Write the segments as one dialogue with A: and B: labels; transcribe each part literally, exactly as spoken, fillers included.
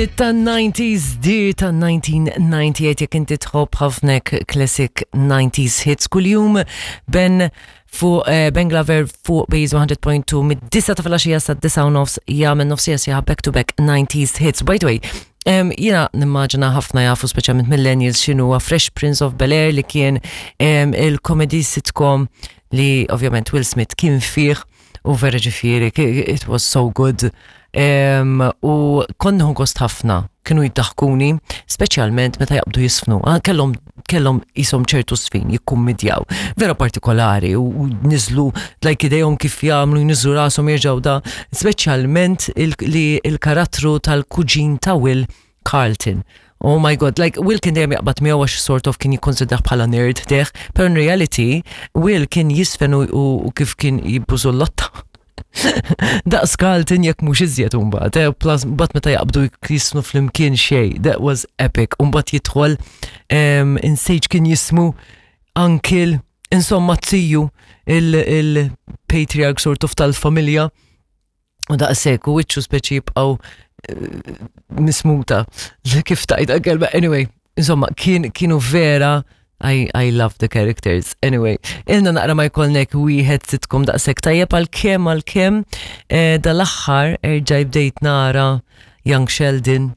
A: Ta' nineties, di ta' elf disa' mija u disgħa u disgħin, jekk inti tħobb ħafna classic nineties hits, kuljum Ben fuq eh, Ben Glover fuq Base one hundred point two mid-disgħa ta' filgħaxija sa' disgħa u nofs jagħmel nofs siegħa back to back nineties hits. By the way, um, jiena nimmaġina ħafna jafu, speċjalment millennials, x'inhu Fresh Prince of Bel-Air, li kien um, il-comedy sitcom li ovvjament Will Smith kien fih u vera, ġifieri, it was so good. Um, u kont nieħu gost ħafna, kienu jiddaħkuni, speċjalment meta jaqbdu jiżfnu. Ah, kellhom kellhom jisom ċertu żfin jikkummidjaw. Vera partikolari u, u niżlu like idejhom kif jagħmlu, jniżlu rashom, jerġgħu da, speċjalment il, li il-karattru tal-kuġin ta' Will, Carlton. Oh my God, like Will kien dejjem jaqbad miegħu għax sort of kien jikkonsidrah bħala nerd deħ, pero in reality Will kien jiżfen u, u, u kif kien jibbużu l-lotta daqs Carlton jekk mhux iżjed imbagħad, eh, plus mbagħad meta jaqbdu jiżfnu flimkien xejn, that was epic. Mbagħad jidħol um, insejt kien jismu uncle, insomma ziju, il-patriarch sort of tal-familja u daqshekk u wiċċu speċi jibqgħu eh, mismuta kif tajta kelma. Anyway, insomma, kien kienu vera, I, I love the characters. Anyway, ilna naqra ma jkollnek wieħed sitcom daqshekk tajjeb, għalkemm għalkemm eh, dal-aħħar erġa' bdejt nara Young Sheldon,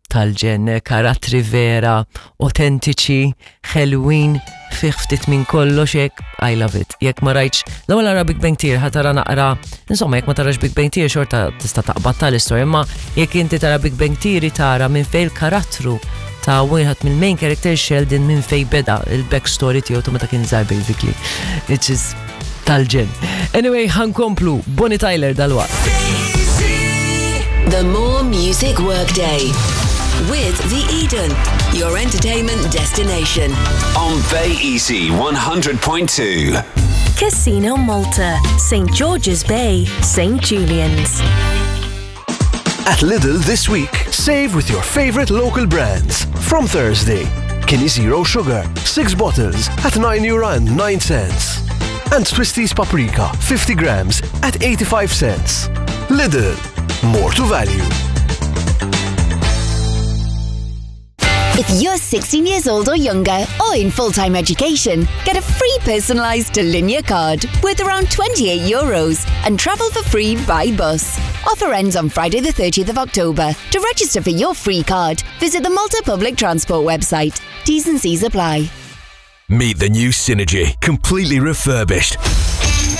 A: tal-ġen, karattri vera, autentiċi, ħelwin, fih ftit minn kollox hekk, I love it. Jekk ma rajtx, l-ewwel ara Big Bang Theory, ħa tara naqra, insomma, jekk ma tarax Big Bang Theory xorta tista' taqbad tal-istorja, imma jekk inti tara Big Bang Theory tara minn fejn il-karattru ta' wieħed mill-main character Sheldon minn fejn beda, il-backstory tiegħu ta' meta kien żgħar basically. Which is tal-ġen. Anyway, ħa nkomplu, Bonnie Tyler dalwaqt.
B: The More Music Workday with The Eden, your entertainment destination.
C: On Bay Easy one hundred point two.
D: Casino Malta, Saint George's Bay, Saint Julian's.
E: At Lidl this week, save with your favorite local brands. From Thursday, Kinnie Zero Sugar, six bottles at nine euro and nine cents. And Twisties Paprika, fifty grams at eighty-five cents. Lidl, more to value.
B: If you're sixteen years old or younger or in full-time education, get a free personalised Tallinja card worth around twenty-eight euros and travel for free by bus. Offer ends on Friday the thirtieth of October. To register for your free card, visit the Malta Public Transport website. T's and C's apply.
F: Meet the new Synergy, completely refurbished.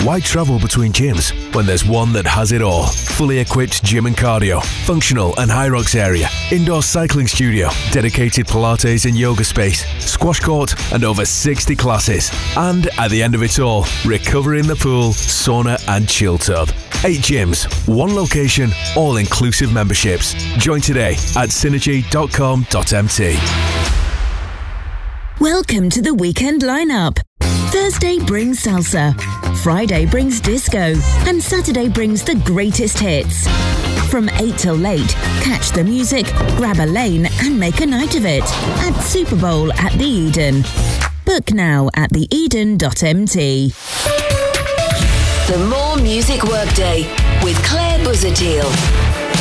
F: Why travel between gyms when there's one that has it all? Fully equipped gym and cardio, functional and Hyrox area, indoor cycling studio, dedicated Pilates and yoga space, squash court, and over sixty classes. And at the end of it all, recover in the pool, sauna, and chill tub. Eight gyms, one location, all inclusive memberships. Join today at synergy dot com dot M T.
D: Welcome to the weekend lineup. Thursday brings salsa, Friday brings disco, and Saturday brings the greatest hits. From eight till late, catch the music, grab a lane, and make a night of it at Super Bowl at the Eden. Book now at theeden dot M T.
B: The More Music Workday with Claire Busuttil.